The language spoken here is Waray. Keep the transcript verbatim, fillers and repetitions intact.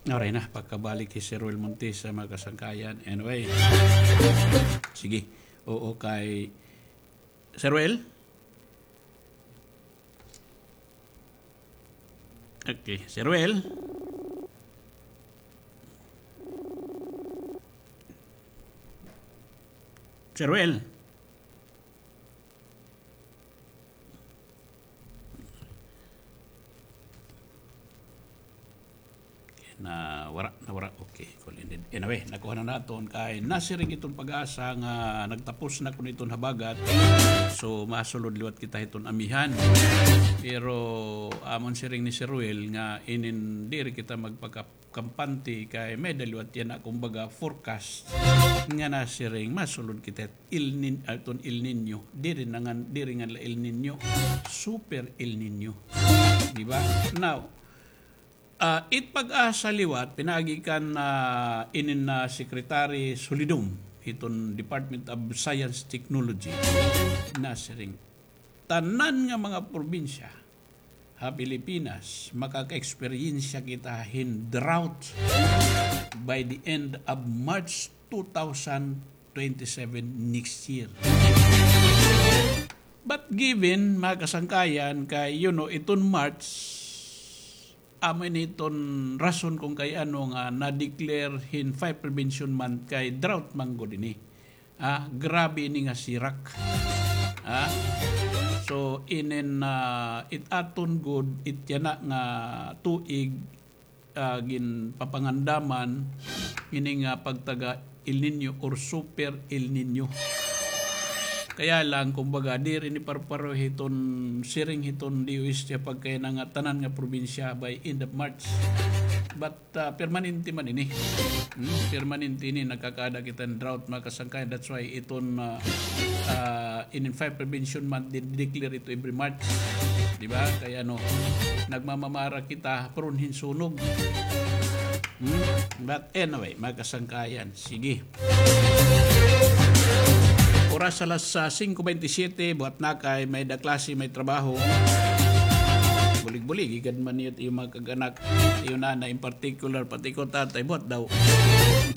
Aray na, pagkabalik hi Sir Ruel Montesa, mga kasangkayan. Anyway. Sige. Oo, kay Sir Ruel? Okay, Sir Ruel? Sir Ruel? Nawara, nawara. Okay, call ended. Anyway, nakuha na naton kay nasiring iton PAGASA nga nagtapos na kuno iton habagat. So, masulod liwat kita hiton amihan. Pero, amon siring ni Sir Ruel nga inin diri kita magpaka-, kampante kay may-ada liwat yana, kumbaga, forecast nga nasiring masulod kita El Ni-, ah, iton El Niño. Diri na ngan, diri ngan la El Niño. Super El Niño. Di ba? Now, ah, it PAGASA liwat, pinaagi kan, ah, inin na Secretary Solidum, hiton Department of Science Technology, nasiring, tanan nga mga probinsya ha Pilipinas, makaka-eksperyensya kita hin drought by the end of March two thousand twenty-seven, next year. But given, mga kasangkayan, kay, you know, iton March, amo ini iton rason kon kay ano nga na-declare hin Fire Prevention Month kay drought man gud ini. Ah, grabe ini nga sirak. Ah, so, inin, ah, it aton gud, it yana nga tuig, ah, ginpapangandaman ini nga pagtaga El Niño or Super El Niño. Kaya lang, kumbaga, diri ini parparo hiton siring hiton D O S T pagkay na nga tanan nga probinsya by end of March. But ah, permanente man ini. Hmm, permanente ini, nakakaada kita hin drought, mga kasangkayan. That's why iton, ah, ah, inin Fire Prevention Month, di-declare ito every March. Di ba? Kay ano, nagmamamara kita, prone hin sunog. Hmm? But anyway, mga kasangkayan, sige. Oras alas, ah, singko bente siyete, buhat na kay may-ada klase, may trabaho. Bulig-bulig gad man niyo it iyo mga kag-anak, iyo nanay in particular, pati ko tatay, buhat daw.